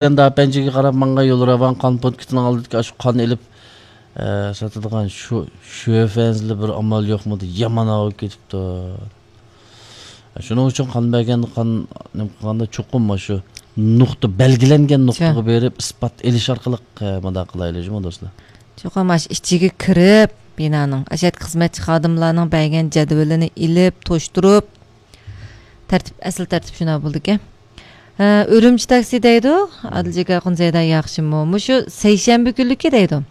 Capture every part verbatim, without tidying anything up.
ئەندى ئاپەنجىگە قاراپ ماڭغان يول راۋان قان پونكىتىنىڭ ئالدىدىكى ئاشۇ قان ئېلىپ، ئە، ساتىدىغان شۇ شۆفەنزىلە بىر ئامال يوقمىدى؟ يامان ئاۋۇپ كېتىپتۇ. شۇنىڭ ئۈچۈن قان بەرگەندە، قان نېمە قىلغاندا چوقۇم مانا شۇ نۇقتا، بەلگىلەنگەن نۇقتىغا بېرىپ ئىسپات ئېلىش ئارقىلىق، ئە، مۇنداق قىلايلى جۇمۇ دوستلار. چوقۇم مانا شۇ ئىچىگە كىرىپ، بىنانىڭ ئاشۇ يەردىكى خىزمەتچى خادىملارنىڭ بەرگەن جەدۋىلىنى ئېلىپ، توشتۇرۇپ، تەرتىپ، ئەسلى تەرتىپ شۇنداق بولىدىكەن. ئە، ئۈرۈمچى تاكسى دەيدۇ. ئادىلجېك ئاخۇن زەيدا ياخشىمۇ؟ مۇشۇ سەيشەنبە كۈنلۈكى دەيدۇ.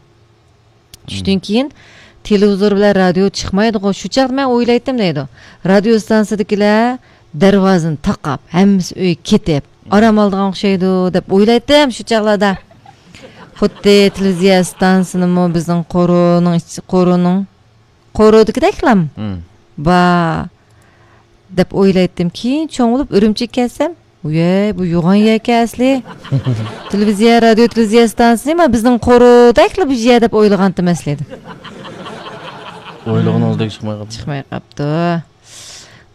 چۈشتىن كېيىن تېلېۋىزور بىلەن رادىيو چىقمايدىغۇ. شۇ چاغدا مەن ئويلايتتىم دەيدۇ. رادىيو ئىستانسىدىكىلەر دەرۋازىنى تاقاپ، ھەممىسى ئۆيگە كېتىپ، ئارام ئالىدىغان ئوخشايدۇ دەپ ئويلايتتىم شۇ چاغلاردا. خۇددى تېلېۋىزىيە ئىستانسىنىمۇ بىزنىڭ قورۇنىڭ ئىچ-، قورۇنىڭ، قورۇدىكىدەكلام بار دەپ ئويلايتتىم. كېيىن چوڭ بولۇپ ئۈرۈمچىگە كەلسەم، ۋىي، بۇ يوغان يەركەن ئەسلى. تېلېۋىزىيە، رادىيو، تېلېۋىزىيە ئىستانسىسى، ما بىزنىڭ قورۇدەكلا بۇ يەر دەپ ئويلىغانتىم ئەسلىدە. ئويلىغىنىڭىزدەك چىقماي قاپتۇ. چىقماي قاپتۇ.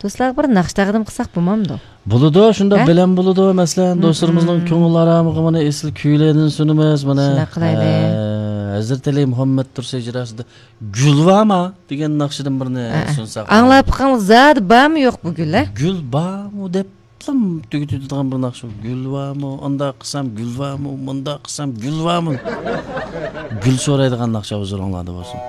دوستلار، بىر ناخشا تەقدىم قىلساق بولمامدۇ؟ بولىدۇ، شۇنداق ھە؟ بىلەن بولىدۇ. مەسىلەن، مم. دوستلىرىمىزنىڭ كۆڭۈل ئارامىغا مانا ئېسىل كۈيلەردىن سۇنىمىز. مانا، شۇنداق قىلايلى. ئە، ھەزرىتى ئەلى مۇھەممەد تۇرسى ھىجراسىدا گۈل بارما دېگەن ناخشىدىن بىرنى ھە. سۇنساق. ئاڭلاپ بېقىڭ، زادى بارمۇ يوق بۇ گۈل، ھە؟ گۈل بارمۇ دەپ تۈگىتىدىغان بىر ناخشا. گۈل بارمۇ؟ ئانداق قىلسام گۈل بارمۇ؟ مۇنداق قىلسام گۈل بارمۇ؟ گۈل سورايدىغان ناخشا ھۇزۇرۇڭلاردا بولسۇن.